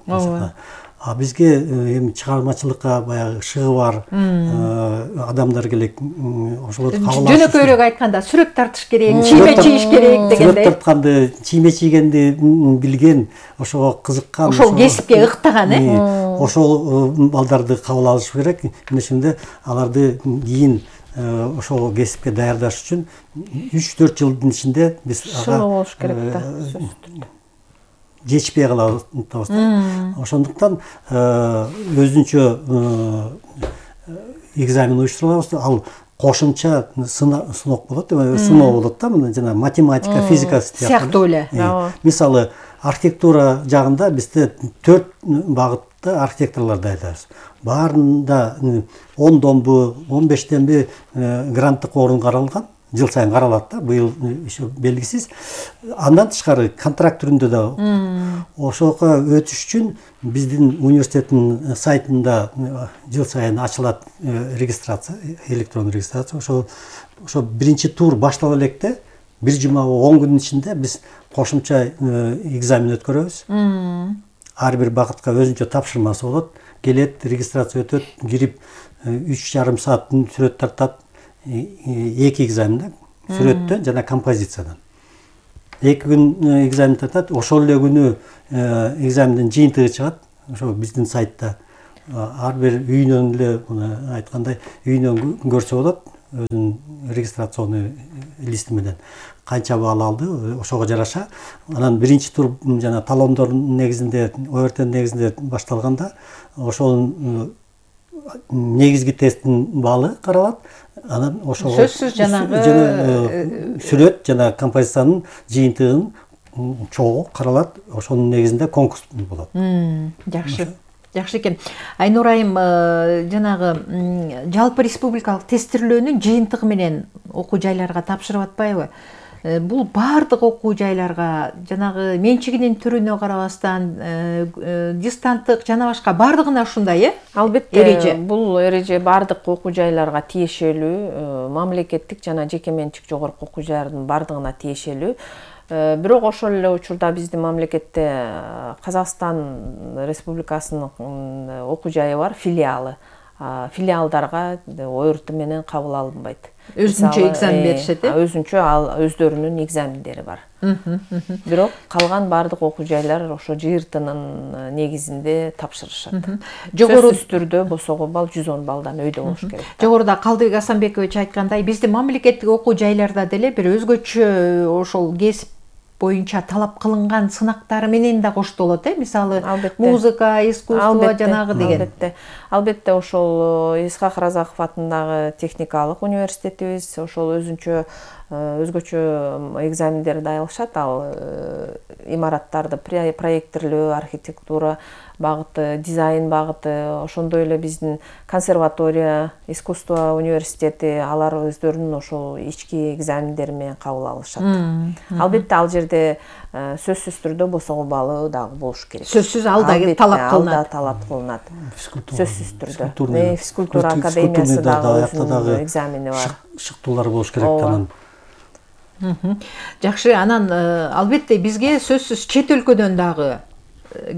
А бизге эми чыгармачылыкка баягы шыгы бар адамдар келек, ошолорду кабыл алыш. Жөнөкөйрөөк айтканда сүрөт тартыш керек, чийме чийиш керек дегендей. Сүрөт тартканды, чийме чийгенди билген, ошого кызыккан, ошол кесипке ыктаган, ошол балдарды кабыл алыш керек. Ошондо аларды кийин ошол кесипке даярдаш үчүн 3-4 жылдын ичинде биз ага болуш керек да. Жетишпей калабыз. Ошондуктан өзүнчө экзамен уюштурабыз. Ал кошумча сынок болот, сыноо болот да, мына жана математика, физика сыяктуу эле. Мисалы архитектура жагында бизде 4 багытта архитекторлор даярдайбыз. Баарында 10-донбу, 15-денби гранттык орун каралган. Жыл сайын каралат да, быйыл еще белгисиз. Андан тышкары контракт түрүндө да ошого өтүш үчүн биздин университеттин сайтында жыл сайын ачылат регистрация, электрондук регистрация. Ошо биринчи тур баштала электе 1 жума 10 күнүн ичинде биз кошумча экзамен өткөрөбүз. Ар бир багытка өзүнчө тапшырмасы болот. Келет, регистрация өтөт, кирип 3,5 сааттын сүрөт тартат. 2 экзамен сүрөттөн жана композициядан. 2 күн экзамен тартат, ошол эле күнү экзамендин жыйынтыгы чыгат. Ошо биздин сайтта ар бир үйүнөн эле айткандай үйүнөн көрсө болот, өзүнүн регистрационный листи менен канча балл алды, ошого жараша. Анан биринчи тур жана талондордун негизинде, ОРТ негизинде башталганда, ошонун негизги тесттин баллы каралат. Анан ошого сөзсүз жанагы сүрөт жана композициянын жыйынтыгын чогуу каралат. Ошонун негизинде конкурс болот. Жакшы. Жакшы экен. Айнур айым, жанагы жалпы республикалык тестирлөөнүн жыйынтыгы менен окуу жайларга тапшырып атпайбы? Бул баардык окуу жайларга жанагы менчигинин түрүнө карабастан дистанттык жана башка баардыгына ушундай, Албетте, бул эреже баардык окуу жайларга тиешелүү, мамлекеттик жана жеке менчик жогорку окуу жайлардын баардыгына тиешелүү. Бирок ошол эле учурда биздин мамлекетте Казакстан Республикасынын окуу жайы бар, филиалы. Филиалдарга ОРТ менен кабыл алынбайт. Өзүнчө экзамен беришет, өзүнчө өздөрүнүн экзамендери бар. Бирок калган баардык окуу жайлар ошо жыйыртынын негизинде тапшырышат. Сөзсүз түрдө босого балл 110 баллдан өйдө болуш керек. Жогоруда Калдыбек Асанбекович айткандай, биздин мамлекеттик окуу жайларда деле бир өзгөчө ошол кесип боюнча талап кылынган сынактары менен да коштолот, мисалы музыка, искусство жанагы деген. Албетте, ошол Исхак Разаков атындагы техникалык университетибиз ошол өзүнчө өзгөчө экзамендерди аялышат. Ал имараттарды проекттирлөө, архитектура багыты, дизайн багыты, ошондой эле биздин консерватория, искусство университети, алар өздөрүнүн ошол ички экзамендери менен кабыл алышат. Албетте, ал жерде сөзсүз түрдө босого баллы дагы болуш керек. Сөзсүз ал да талап кылынат. Сөзсүз түрдө. Физкультура академиясы дагы өзүнүн экзамени бар. Шыктуулар болуш керек анан. Жакшы, анан албетте бизге сөзсүз чет өлкөдөн дагы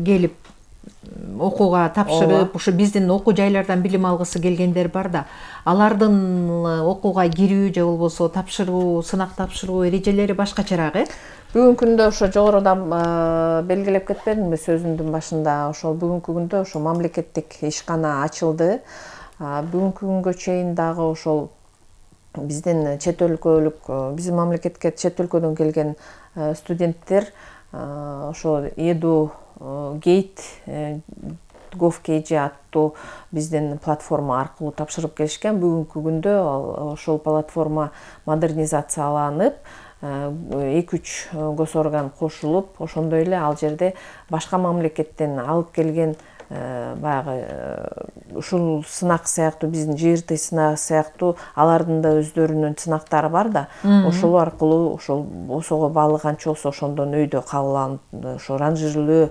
келип окууга тапшырып, ушу биздин окуу жайлардан билим алгысы келгендер бар да. Алардын окууга кирүү же болбосо тапшыруу, сынак тапшыруу эрежелери башкачараак, Бүгүнкү күндө ошо жогорудан белгилеп кетпедимби сөзүмдүн башында, ошол бүгүнкү күндө ошо мамлекеттик ишкана ачылды. Бүгүнкү күнгө чейин дагы ошол биздин чет өлкөлүк, биздин мамлекетке чет өлкөдөн келген студенттер ошо Edu Gate GovKG аттуу биздин платформа аркылуу тапшырып келишкен. Бүгүнкү күндө ошол платформа модернизацияланып, 2-3 госорган кошулуп, ошондой эле ал жерде башка мамлекеттен алып келген баягы ушул сынак сыяктуу, биздин ЖРТ сынак сыяктуу алардын да өздөрүнүн сынактары бар да. Ошол аркылуу ошол осого баалы канча болсо ошондон өйдө кабыл алынып, ошо ранжирлөө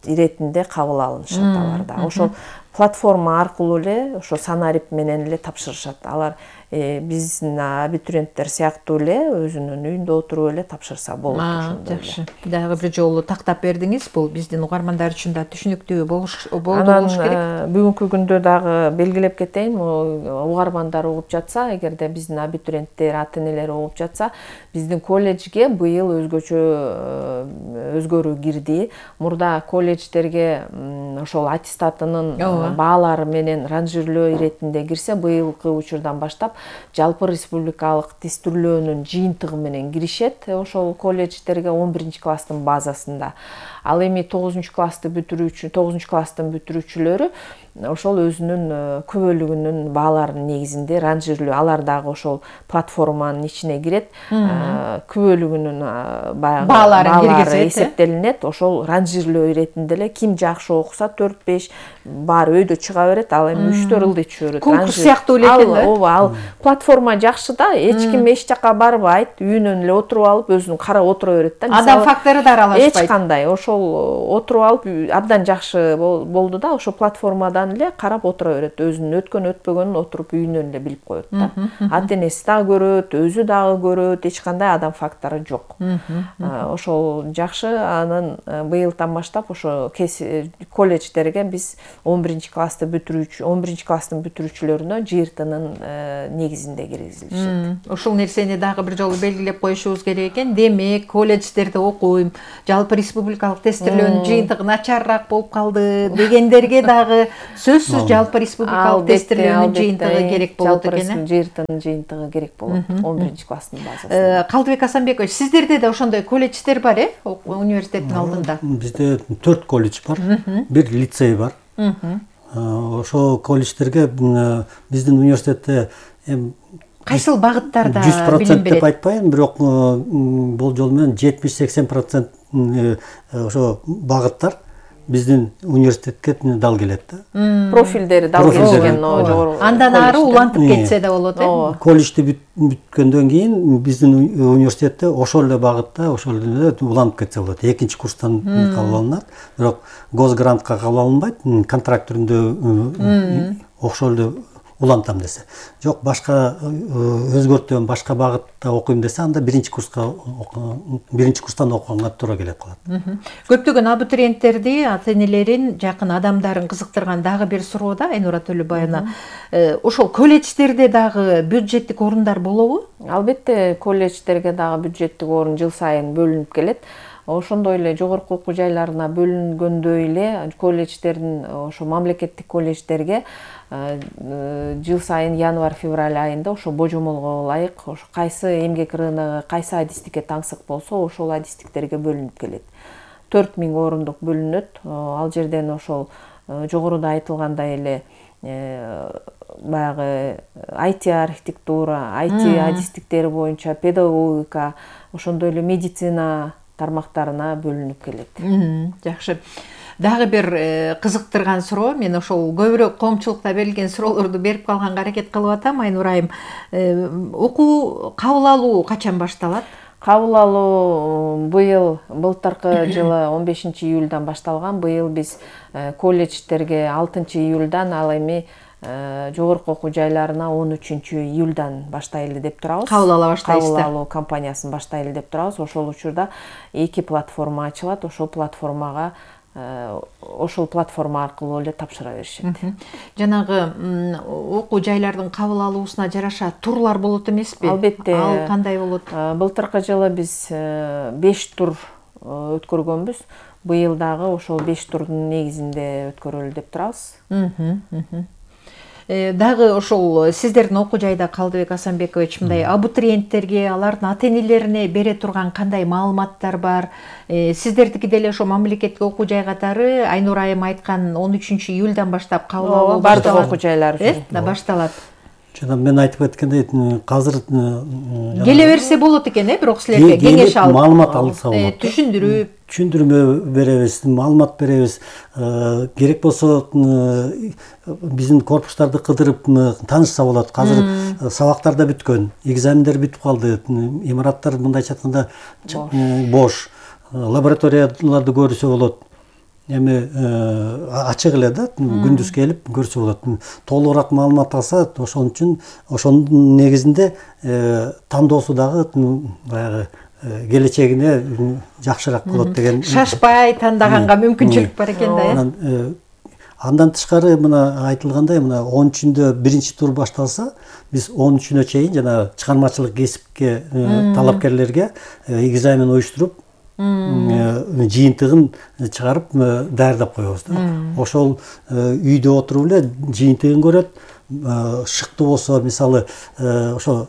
иретинде кабыл алынышат алар да. Ошол платформа аркылуу эле ошо санарип менен эле тапшырышат. Алар биздин абитуриенттер сыяктуу эле өзүнүн үйүндө отуруп эле тапшырса болот ошондой. Жакшы. Дагы бир жолу тактап бердиңиз. Бул биздин угармандар үчүн да түшүнүктүү болуш керек. Бүгүнкү күндө дагы белгилеп кетейин, угармандар угуп жатса, эгерде биздин абитуриенттер, ата-энелер угуп жатса, биздин колледжге быйыл өзгөчө өзгөрүү кирди. Мурда колледждерге ошол аттестатынын баалары менен ранжирлөө иретинде кирсе, быйылкы учурдан баштап жалпы республикалык тестирлөөнүн жыйынтыгы менен киришет ошол колледждерге 11-класстын базасында. Ал эми 9-класстын бүтүрүүчүлөрү ошол өзүнүн күбөлүгүнүн бааларынын негизинде ранжирлөө, алар дагы ошол платформанын ичине кирет, күбөлүгүнүн баалары эсептелинет, ошол ранжирлөө иретинде эле ким жакшы окуса 4-5 баары өйдө чыга берет, ал эми 3-4 ылдый түшө берет. Конкурс сыяктуу эле экен да. Ооба, ал платформа жакшы да, эч ким эч жака барбайт, үйүнөн эле отуруп алып өзүнүн карап отура берет да. Адам фактору да аралашпайт. Эч кандай, ошол отуруп алып абдан жакшы болду да, ошо платформадан эле карап отура берет, өзүнүн өткөн өтпөгөнүн отуруп үйүнөн эле билип коет да. Ата-энеси дагы көрөт, өзү дагы көрөт, эч кандай адам фактору жок. Ошол жакшы. Анан быйылдан баштап ошо колледждерге биз 11-класстын бүтүрүүчүлөрүнө ЖРТнын негизинде киргизилишет. Ушул нерсени дагы бир жолу белгилеп коюшубуз керек экен. Демек, колледждерде окуйм, жалпы республикалык тестирлөөнүн жыйынтыгы начарраак болуп калды дегендерге дагы сөзсүз жалпы республикалык тестирлөөнүн жыйынтыгы керек болот экен. ЖРТнын жыйынтыгы керек болот 11-класстын базасында. Калдыбек Асанбекович, сиздерде да ошондой колледждер бар, университеттин алдында? Бизде 4 колледж бар, бир лицей бар. Ошо колледждерге биздин университетте кайсыл багыттарда 100% деп айтпайм, бирок болжол менен 70-80% ошо багыттар биздин университетке дал келет да. Профилдери дал келишкен жогору. Андан ары улантып кетсе да болот, колледжди бүткөндөн кийин биздин университетте ошол эле багытта, ошол эле уланып кетсе болот. 2-курстан кабыл алынат, бирок госгрантка кабыл алынбайт, контракт түрүндө ошол эле улантам десе. Жок, башка өзгөртөм, башка багытта окуйм десе, анда 1-курстан окуганга туура келип калат. Көптөгөн абитуриенттерди, ата-энелерин, жакын адамдарын кызыктырган дагы бир суроо да, Айнура Төлөбаевна. Ошол колледждерде дагы бюджеттик орундар болобу? Албетте, колледждерге дагы бюджеттик орун жыл сайын бөлүнүп келет. Ошондой эле жогорку окуу жайларына бөлүнгөндөй эле колледждердин, ошо мамлекеттик колледждерге жыл сайын январь-февраль айында ошо божомолго ылайык ошо кайсы эмгек рыногу, кайсы адистикке таңсык болсо, ошол адистиктерге бөлүнүп келет. 4000 орундук бөлүнөт. Ал жерден ошол жогоруда айтылгандай эле баягы IT архитектура, IT адистиктери боюнча педагогика, ошондой эле медицина тармактарына бөлүнүп келет. Жакшы. Дагы бир кызыктырган суроо, мен ошол көбүрөөк коомчулукта берилген суроолорду берип калганга аракет кылып атам, Айнура айым. Окуу кабыл алуу качан башталат? Кабыл алуу былтыркы жылы 15-июльдан башталган. Быйыл биз колледждерге 6-июльдан, ал эми жогорку окуу жайларына 13-июльдан баштайлы деп турабыз. Кабыл ала баштайсыздар. Кабыл алуу кампаниясын баштайлы деп турабыз. Ошол учурда 2 платформа ачылат. Ошол платформага ошол платформа аркылуу эле тапшыра беришет. Жанагы окуу жайлардын кабыл алуусуна жараша турлар болот эмеспи? Албетте. Ал кандай болот? Былтыркы жылы биз 5 тур өткөргөнбүз. Быйыл дагы ошол 5 турдун негизинде өткөрөлү деп турабыз. Дагы ошол сиздердин окуу жайда Калдыбек Асанбекович мындай абитуриенттерге, алардын ата-энелерине бере турган кандай маалыматтар бар? Сиздердики деле ошо мамлекеттик окуу жай катары Айнур айым айткан 13 июльдан баштап кабыл алуу бардык окуу жайлар үчүн башталат. Жана мен айтып кеткендей, азыр Келе берсе болот экен, бирок силерге кеңеш алып, маалымат алса болот. Түшүндүрүп беребиз, маалымат беребиз. Керек болсо биздин корпустарды кыдырып таанышса болот. Азыр сабактар да бүткөн, экзамендер бүтүп калды, имараттар мындайча айтканда бош. Лабораторияларды көрсө болот. Эми ачык эле да, күндүз келип көрсө болот. Толугураак маалымат алса, ошон үчүн ошонун негизинде тандоосу дагы баягы келечегине жакшыраак болот деген. Шашпай тандаганга мүмкүнчүлүк бар экен да. Андан тышкары мына айтылгандай, мына 13-үндө биринчи тур башталса, биз 13-үнө чейин жана чыгармачылык кесипке талапкерлерге экзамен уюштуруп, жыйынтыгын чыгарып даярдап коебуз да. Ошол үйдө отуруп эле жыйынтыгын көрөт. Шыктуу болсо, мисалы, ошо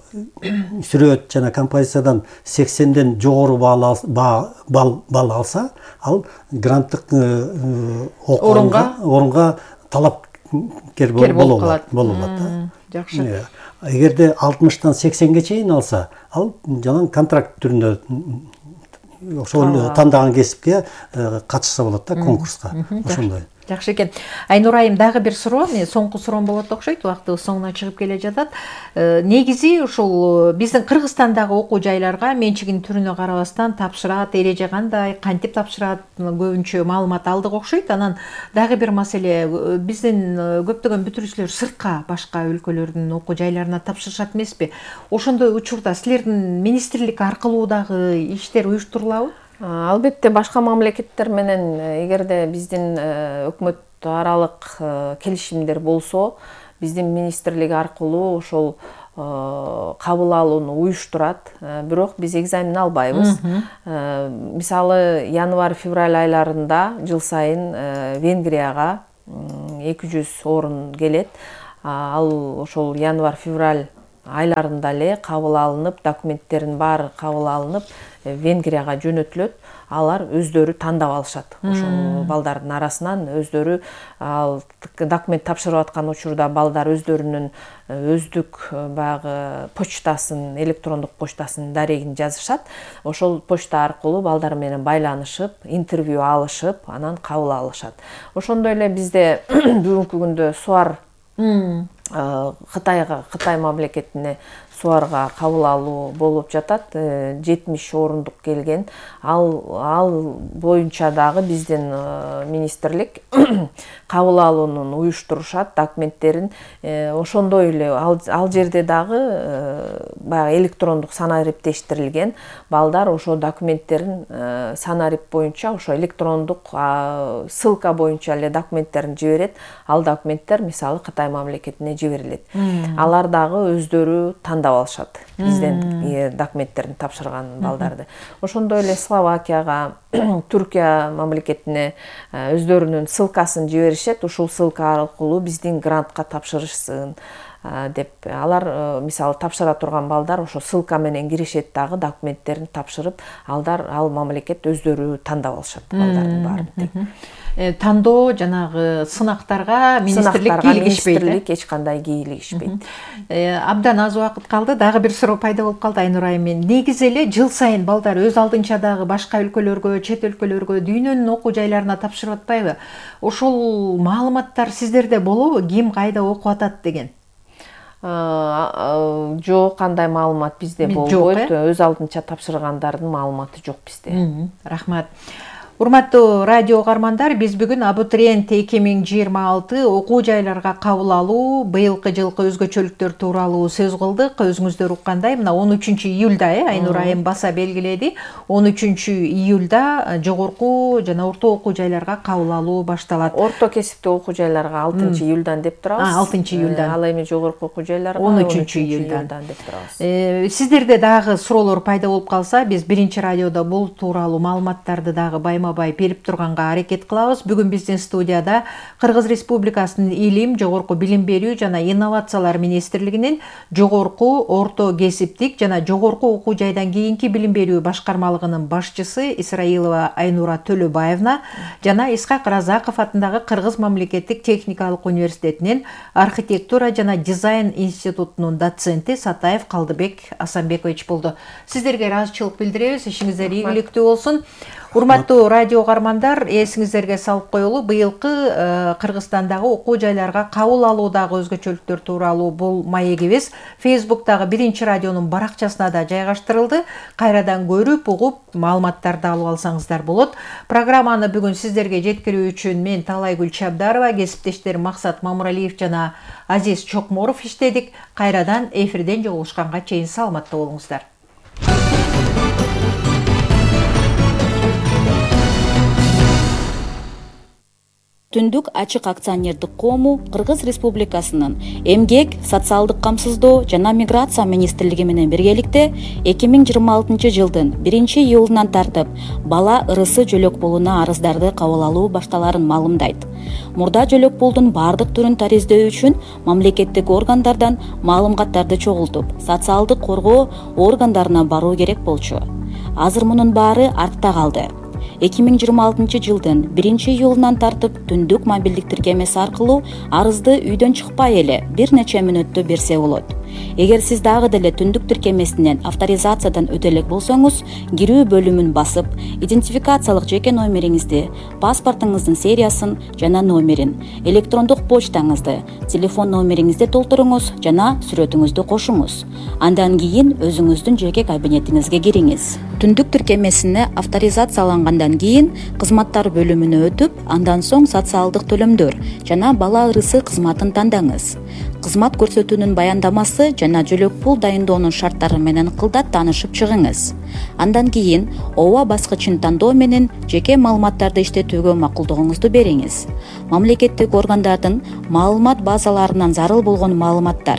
сүрөт жана композициядан 80ден жогору балл алса, ал гранттык орунга талапкер болуп калат. Жакшы. Эгерде 60тан 80ге чейин алса, ал жана контракт түрүндө ошол тандаган кесипке катышса болот да, конкурска. Ошондой. Жакшы экен. Айнур айым, дагы бир суроо, соңку суроом болот окшойт, убактыбыз соңуна чыгып келе жатат. Негизи ушул биздин Кыргызстандагы окуу жайларга менчигинин түрүнө карабастан тапшырат, эреже кандай, кантип тапшырат, көбүнчө маалымат алдык окшойт. Анан дагы бир маселе, биздин көптөгөн бүтүрүүчүлөр сыртка, башка өлкөлөрдүн окуу жайларына тапшырышат эмеспи? Ошондой учурда силердин министрлик аркылуу дагы иштер уюштурулабы? Албетте, башка мамлекеттер менен эгерде биздин өкмөт аралык келишимдер болсо, биздин министрлик аркылуу ошол кабыл алууну уюштурат. Бирок биз экзамен албайбыз. Мисалы, январь-февраль айларында жыл сайын Венгрияга 200 орун келет. Ал ошол январь-февраль айларында эле кабыл алынып, документтерин баары кабыл алынып, Венгрияга жөнөтүлөт. Алар өздөрү тандап алышат. Ошол балдардын арасынан өздөрү документ тапшырып аткан учурда балдар өздөрүнүн өздүк баягы почтасын, электрондук почтасын дарегин жазышат. Ошол почта аркылуу балдар менен байланышып, интервью алышып, анан кабыл алышат. Ошондой эле бизде бүгүнкү күндө СУАР Кытай мамлекетине СУАРга кабыл алуу болуп жатат. 70 орундук келген. Ал боюнча дагы биздин министрлик кабыл алуунун уюштурушат, документтерин. Ошондой эле ал жерде дагы баягы электрондук санариптештирилген балдар ошо документтерин санарип боюнча, ошо электрондук ссылка боюнча эле документтерин жиберет. Ал документтер мисалы Кытай мамлекетине жиберилет. Алар дагы өздөрү тандап алышат бизден документтерин тапшырган балдарды. Ошондой эле Словакияга, Түркия мамлекетине өздөрүнүн ссылкасын жиберишет. Ушул ссылка аркылуу биздин грантка тапшырышсын деп. Алар мисалы тапшыра турган балдар ошо ссылка менен киришет, дагы документтерин тапшырып, ал мамлекет өздөрү тандап алышат балдардын баарын. Тандоо жанагы сынактарга министрлик кийлигишпейт. Министрлик эч кандай кийлигишпейт. Абдан аз убакыт калды. Дагы бир суроо пайда болуп калды Айнур айым. Негизи эле жыл сайын балдар өз алдынча дагы башка өлкөлөргө, чет өлкөлөргө, дүйнөнүн окуу жайларына тапшырып атпайбы? Ошол маалыматтар сиздерде болобу? Ким кайда окуп атат деген? Жок, кандай маалымат бизде болбойт. Өз алдынча тапшыргандардын маалыматы жок бизде. Рахмат. Урматтуу радио угармандар, биз бүгүн абитуриент 2026 окуу жайларга кабыл алуу быйылкы жылкы өзгөчөлүктөр тууралуу сөз кылдык. Өзүңүздөр уккандай, мына 13 июлда Айнур айым баса белгиледи. 13 июлда жогорку жана орто окуу жайларга кабыл алуу башталат. Орто кесиптүү окуу жайларга 6 июлдан деп турабыз. 6 июлдан. Ал эми жогорку окуу жайларга 13 июлдан деп турабыз. Сиздерде дагы суроолор пайда болуп калса, биз биринчи радиодо бул тууралуу маалыматтарды дагы байма-бай берип турганга аракет кылабыз. Бүгүн биздин студияда Кыргыз Республикасынын Илим, жогорку билим берүү жана инновациялар министрлигинин жогорку, орто кесиптик жана жогорку окуу жайдан кийинки билим берүү башкармалыгынын башчысы Исраилова Айнура Төлөбаевна жана Исхак Разаков атындагы Кыргыз мамлекеттик техникалык университетинин архитектура жана дизайн институтунун доценти Сатаев Калдыбек Асанбекович болду. Сиздерге ыраазычылык билдиребиз. Ишиңиздер ийгиликтүү болсун. Урматтуу радио угармандар, эсиңиздерге салып коелу, быйылкы Кыргызстандагы окуу жайларга кабыл алуудагы өзгөчөлүктөр тууралуу бул маегибиз Facebook'тагы биринчи радионун баракчасына да жайгаштырылды. Кайрадан көрүп, угуп, маалыматтарды алып алсаңыздар болот. Программаны бүгүн сиздерге жеткирүү үчүн мен Талайгүл Чабдарова, кесиптештерим Максат Мамыралиев жана Азиз Чокморов иштедик. Кайрадан эфирден жолугушканга чейин саламатта болуңуздар. Түндүк ачык акционердик коому Кыргыз Республикасынын Эмгек, социалдык камсыздоо жана миграция министрлиги менен биргеликте 2026 жылдын 1-июлунан тартып бала ырысы жөлөк пулуна арыздарды кабыл алуу башталарын маалымдайт. Мурда жөлөк пулдун бардык түрүн тариздөө үчүн мамлекеттик органдардан маалыматтарды чогултуп, социалдык коргоо органдарына баруу керек болчу. Азыр мунун баары артта калды. 2026 жылдын 1-июлунан тартып түндүк мобилдик тиркемеси аркылуу арызды үйдөн чыкпай эле бир нече мүнөттө берсе болот. Эгер сиз дагы деле түндүк тиркемесинен авторизациядан өтө элек болсоңуз, кирүү бөлүмүн басып, идентификациялык жеке номериңизди, паспортуңуздун сериясын жана номерин, электрондук почтаңызды, телефон номериңизди толтуруңуз жана сүрөтүңүздү кошуңуз. Андан кийин өзүңүздүн жеке кабинетиңизге кириңиз. Түндүк тиркемесине авторизациялангандан кийин кызматтар бөлүмүнө өтүп, андан соң социалдык төлөмдөр жана бала ырысы кызматын тандаңыз. Кызмат көрсөтүүнүн баяндамасы жана жөлөк пул дайындоонун шарттары менен кылдат таанышып чыгыңыз. Андан кийин ооба баскычын тандоо менен жеке маалыматтарды иштетүүгө макулдугуңузду бериңиз. Мамлекеттик органдардын маалымат базаларынан зарыл болгон маалыматтар,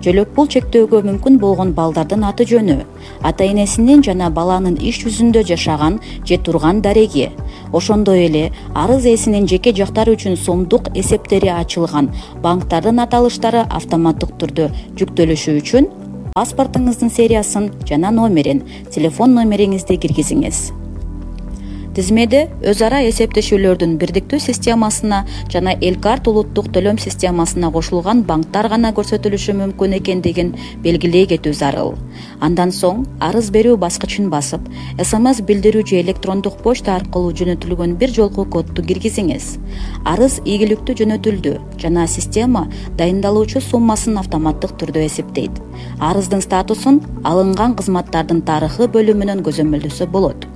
жөлөк пул чектөөгө мүмкүн болгон балдардын аты жөнү, ата-энесинин жана баланын иш жүзүндө жашаган же турган дареги, ошондой эле арыз ээсинин жеке жактары үчүн сомдук эсептери ачылган банктардын аталыштары автоматтык түрдө жүктөлүшү үчүн паспортуңуздун сериясын жана номерин, телефон номериңизди киргизиңиз. Тизмеде өз ара эсептешүүлөрдүн бирдиктүү системасына жана Элкарт улуттук төлөм системасына кошулган банктар гана көрсөтүлүшү мүмкүн экендигин белгилей кетүү зарыл. Андан соң арыз берүү баскычын басып, СМС билдирүү же электрондук почта аркылуу жөнөтүлгөн бир жолку кодду киргизиңиз. Арыз ийгиликтүү жөнөтүлдү жана система дайындалуучу суммасын автоматтык түрдө эсептейт. Арыздын статусун алынган кызматтардын тарыхы бөлүмүнөн көзөмөлдөсө болот.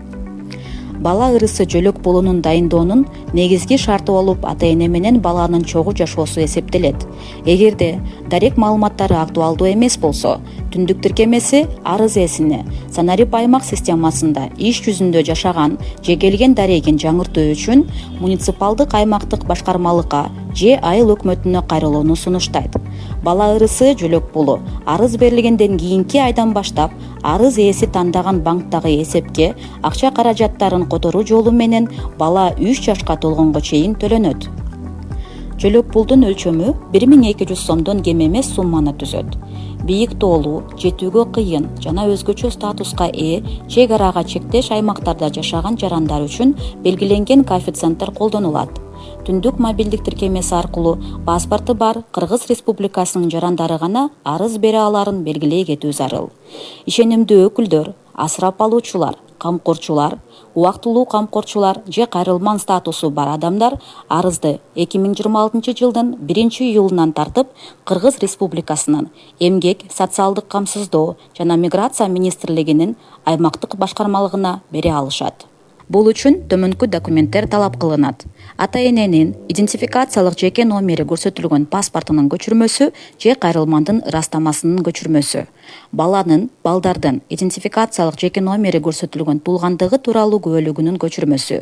Бала ырысы жөлөк пулунун дайындоонун негизги шарты болуп ата-эне менен баланын чогуу жашоосу эсептелет. Эгерде дарек маалыматтары актуалдуу эмес болсо, түндүк тиркемеси арыз ээсине Санарип аймак системасында иш жүзүндө жашаган же келген дарегин жаңыртуу үчүн муниципалдык аймактык башкармалыкка же айыл өкмөтүнө кайрылууну сунуштайт. Бала ырысы жөлөк пулу арыз берилгенден кийинки айдан баштап арыз ээси тандаган банктагы эсепке акча каражаттарын которуу жолу менен бала 3 жашка толгонго чейин төлөнөт. Жөлөк пулдун өлчөмү 1200 сомдон кем эмес сумманы түзөт. Бийик тоолуу, жетүүгө кыйын жана өзгөчө статуска ээ чек арага чектеш аймактарда жашаган жарандар үчүн белгиленген коэффициенттер колдонулат. Түндүк мобилдик тиркемеси аркылуу паспорту бар Кыргыз Республикасынын жарандары гана арыз бере аларын белгилей кетүү зарыл. Ишенимдүү өкүлдөр, асырап алуучулар, камкорчулар, убактылуу камкорчулар же кайрылман статусу бар адамдар арызды 2026 жылдын 1-июлунан тартып Кыргыз Республикасынын Эмгек, социалдык камсыздоо жана миграция министрлигинин аймактык башкармалыгына бере алышат. Бул үчүн төмөнкү документтер талап кылынат. Ата-эненин идентификациялык жеке номери көрсөтүлгөн паспортунун көчүрмөсү же кайрылмандын ырастамасынын көчүрмөсү. Балдардын идентификациялык жеке номери көрсөтүлгөн туулгандыгы тууралуу күбөлүгүнүн көчүрмөсү.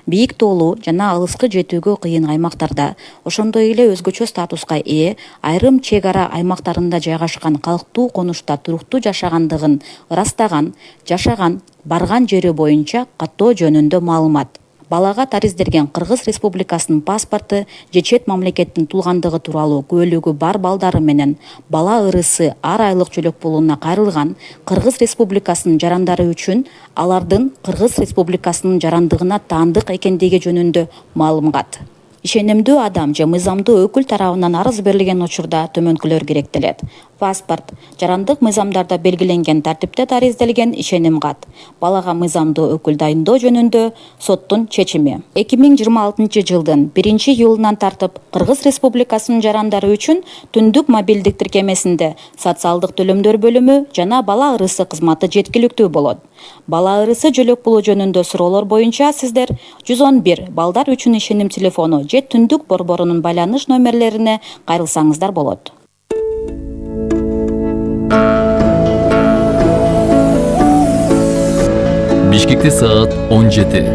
Бийик тоолуу жана алыскы жетүүгө кыйын аймактарда, ошондой эле өзгөчө статуска ээ айрым чек ара аймактарында жайгашкан калктуу конушта туруктуу жашагандыгын ырастаган, жашаган, барган жери боюнча каттоо жөнүндө маалымат. Балага тариздерген Кыргыз Республикасынын паспорту же чет мамлекеттин туулгандыгы тууралуу күбөлүгү бар балдары менен бала ырысы ар айлык жөлөк пулуна кайрылган Кыргыз Республикасынын жарандары үчүн алардын Кыргыз Республикасынын жарандыгына таандык экендиги жөнүндө маалымат. Ишенимдүү адам же мыйзамдуу өкүл тарабынан арыз берилген учурда төмөнкүлөр керектелет. Паспорт, жарандык мыйзамдарда белгиленген тартипте тариздалген ишеним кат. Балага мыйзамдуу өкүл дайындоо жөнүндө соттун чечими. 2026 жылдын 1-июлунан тартып Кыргыз Республикасынын жарандары үчүн түндүк мобилдик тиркемесинде социалдык төлөмдөр бөлүмү жана бала ырысы кызматы жеткиликтүү болот. Бала ырысы жөлөк пулу жөнүндө суроолор боюнча сиздер 111 балдар үчүн ишеним телефону же түндүк борборунун байланыш номерлерине кайрылсаңыздар болот. Бишкекте саат 17.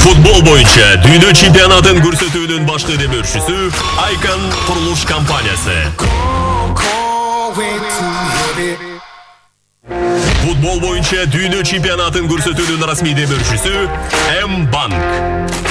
Футбол боюнча дүйнө чемпионатын көрсөтүүнүн башкы демөөрчүсү Icon курулуш компаниясы. Футбол боюнча дүйнө чемпионатын көрсөтүүнүн расмий демөөрчүсү M-Bank.